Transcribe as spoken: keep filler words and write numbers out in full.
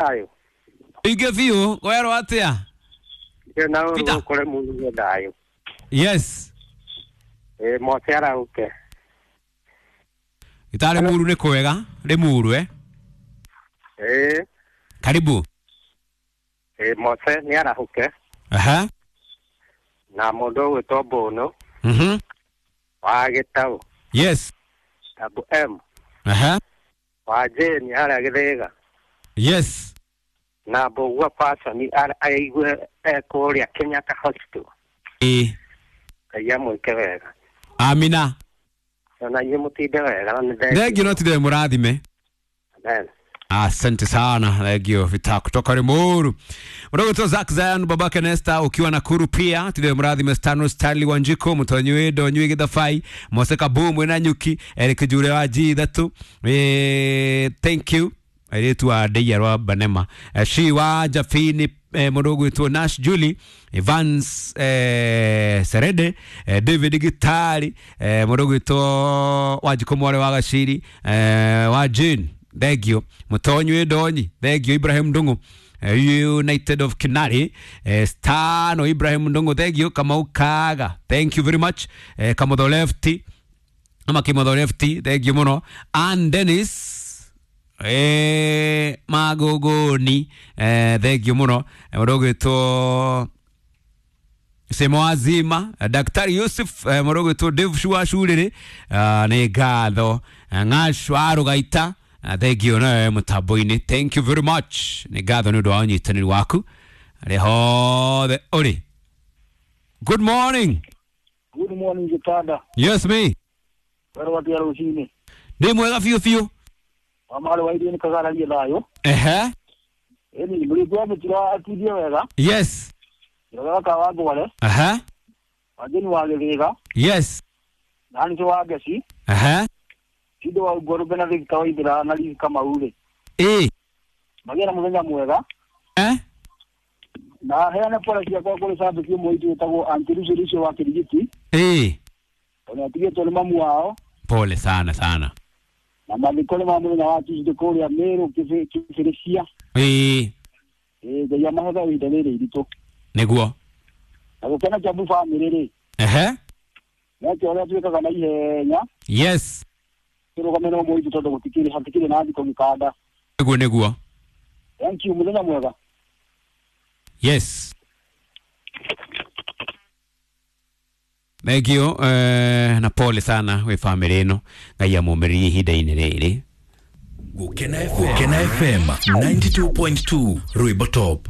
Thayũ. Ige biũ werwo atĩa? Na Peter. ũrĩ kũrĩ mũndũ thayũ. Yes. Ĩ Mose arauke. Gĩtarĩ muru nĩ kwega Limuru eh? Ĩ Karibu. ĩ Mose nĩ arahũke Aha. na mũndũ ũgwĩtwo Mbũnũ Mhm. wa Gĩtaũ, Yes. Tabu M Aha. wa Jane harĩa Gĩthĩga Yes. na Mbũgua Pasoni aigue ekũrĩa Kenyatta Hospital. Ĩ. Ngai amwĩke wega. Amina. Ona inyuĩ mũtinde wega na nĩ Thengio no tinde mũrathime. Amen. Asante sana thengio Vita kutoka Limuru. Mdogo Zack Zion babake Nesta ukiwa Nakuru pia tinde mũrathime Stano Stanley Wanjiko mutonyi wi ndonyi wi Githabai Mose Kabu mwina nyuki Eric Jure wa G ithatu eh, thank you airĩtu a ndeia rwa Banema. Eh, shi wa Jafini eh, mũndũ ũgwĩtwo Nash Julie Evans eh, Serede eh, David Gitari eh, mũndũ ũgwĩtwo Wanjikũ mwarĩ wa Gaciri eh, wa Jane thengio mũtonyi wĩ ndonyi thengio Ibrahim Ndung'u eh, United of Kinari eh, Stano Ibrahim Ndung'u thengio Kamau Kaga thank you very much eh, Kamotho Lefty ama Kimotho Lefty thengio mũno Ann Dennis eh, Magogoni eh, thengio mũno. Eh, mũndũ ũgwĩtwo Semo Azima eh, Daktari Yusuf eh, mũndũ ũgwĩtwo Dave Shua Shurĩrĩ ah, nĩ ngatho. Eh, Ng'ash wa Rũgaita eh, thengio nawe mũtambo-inĩ thank you very much nĩ ngatho nĩ ũndũ wa ũnyitanĩri waku harĩa hothe ũrĩ. Good morning. Good morning Gitanda. Yes me. Wero watia rũcinĩ. Ndĩ mwega biũ biũ. Wa marĩ wa irio nĩ kagararie thayũ. Ehe. Ĩni mũrĩthi wa mĩtira atindie wega. Yes. Wega ka wa Ngware. Aha. Wajeni wa Gĩthĩga. Yes. Na nĩcio wa Ngeci. Aha. Tindo wa Ngwarũmbe na Victor Waithera na Liz Kamau rĩ. Ĩ. Magĩe na mũthenya mwega. Eh? Na heane pole ciakwa kũrĩ cambĩki ũmwe witũ wĩtagwo Aunty Lucy Lucy wa Kĩrigiti. Ĩ. Tondũ atigĩtwo nĩ mamu wao. Pole sana sana. Na mathiko nĩ ma mũthenya wa Tuesday kũrĩa Meru Kĩbĩ- Kĩbĩrĩcia. Ĩ. Ĩ Ngai amahetha ihinda rĩrĩ iritũ. Nĩguo. Na gũkena Kiambu bamĩrĩ rĩ. Ehe. Nake ũrĩa twĩkaga na ihenya Yes. tũrũgame na ũmwe witũ tondũ gũtikĩrĩ hatikĩrĩ na thikũ gĩkanda. Nĩguo nĩguo. Thank you, mũthenya mwega. Yes. Thank you eh, na pole sana wĩ famĩlĩ ĩno Ngai amũmĩrĩrie ihinda-inĩ rĩrĩ. Gukena F M, Gukena F M ninety-two point two Rwimbo Top.